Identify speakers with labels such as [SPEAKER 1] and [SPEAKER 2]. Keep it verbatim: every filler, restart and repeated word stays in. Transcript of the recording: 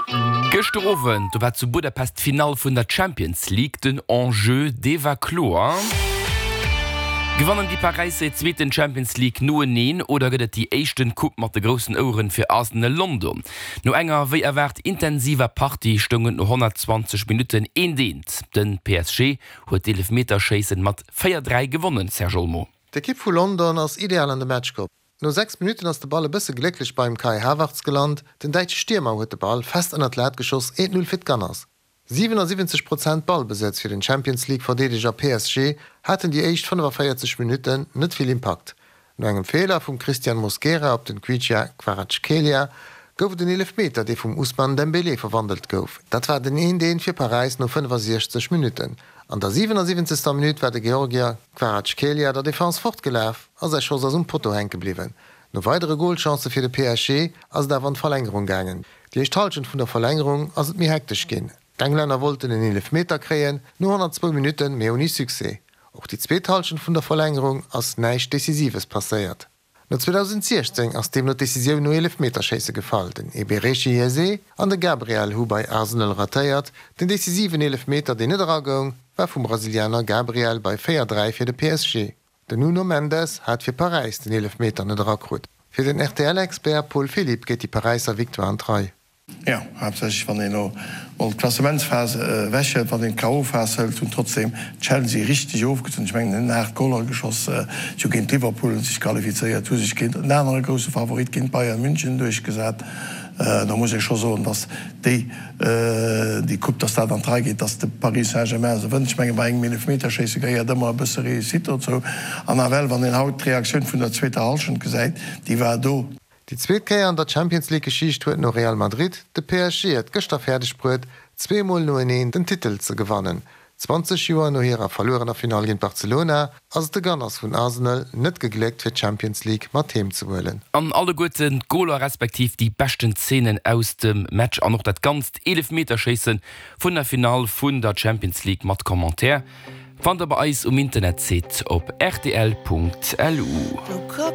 [SPEAKER 1] Gëschter Owend, do war zu Budapest d'Finall vun der Champions League, den Enjeu, dee war kloer. Gewannen déi Paräisser hir zweeten Champions League noeneen oder gëtt et déi éischten Coupe mat de groussen Oueren fir Arsenal London? No enger wéi erwaart intensiver Partie stoung et no honnertzwanzeg Minutten eent eent. Den P S G huet d'Eelefmeterschéissen mat véier dräi gewonnen, Serge Olmo.
[SPEAKER 2] D'Ekipp vu London ass ideal an de Match komm. No sechs Minutten ass de Ball e bësse glécklech beim Kai Havertz gelant, den däitsche Stiermer huet de Ball fest ënnert d'Lat geschoss, eent Null fir d'Gunners. siwenassiwwenzeg Prozent Ballbesëtz fir den Champions League Verdeedeger P S G haten déi éischt fënnefavéierzeg Minutten net vill Impakt. No engem Feeler vum Christian Mosquera op den Kvicha Kvaratskhelia gouf et en Eelefmeter, dee vum Ousmane Dembélé verwandelt gouf. Dat war den eent eent fir Paräis no fënnefasiechzeg Minutten. An der siwenasiwwenzegster Minutt war de Georgier Kvaratskhelia der Defense fortgelaf a säi Schoss ass um Potto hänke bliwwen. No weidere Golchancë fir de P S G ass et awer an d'Verlängerung gaangen. Déi éischt Hallschent vun der Verlängerung ass et méi hektesch ginn. D'Englänner wollten en Eelefmeter kréien, no honnertzwou Minutten, mee ouni Succès. Och déi zweet Hallschent vun der Verlängerung ass näischt Decisives passéiert. No zweedausendsiechzéng ass deemno d'Decisioun no Eelefmeterschéisse gefall. Den Eberechi Eze an de Gabriel hu bei Arsenal ratéiert. Den decisiven Eelefmeter, deen net eragoung, war vum Brasilianer Gabriel bei véier dräi fir de P S G. Den Nuno Mendes hat fir Paräis den Eelefmeter net erakrut. Fir den R T L-Expert Paul Philipp geet déi Paräisser Victoire an d'Rei.
[SPEAKER 3] Jo, haaptsächlech wann een elo mol d'Klassementsphas ewechhëlt, wann een d'K O. Phas hëlt, hunn trotzdeem Chelsea richteg ofgezunn. Ech mengen, hunn aacht Goler geschoss, si hu géint Liverpool sech qualifizéiert, hu sech géint en anere grousse Favorit, géint Bayern München duerchgesat. Da muss ee scho soen, datt déi déi Coupe, datt dat an d'Rei geet, datt de Paris Saint-Germain se wënnt. Ech mengen, bei engem Eelefmeterschéisse gehéiert ëmmer e bësse Réussite dozou. An nawell, wann een haut d'Reaktioun vun der zweeter Hallschent gesäit, déi war do.
[SPEAKER 2] Déi zweet Kéier an der Champions League Geschicht huet no Real Madrid de P S G et gëschter fäerdeg bruet, zwee Mol noeneen den Titel ze gewannen. Zwanzeg Joer no hirer verluerener Finall géint Barcelona ass et de Gunners vun Arsenal net gegléckt fir d'Champions League mat heem ze huelen.
[SPEAKER 1] An alleguerten d'Goler respektiv déi beschten Zeenen aus dem Match an och dat ganzt Eelefmeterschéisse vun der Finall vun der Champions League mat Commentaire fannt der bei eis um Internetsite op R T L Punkt L U.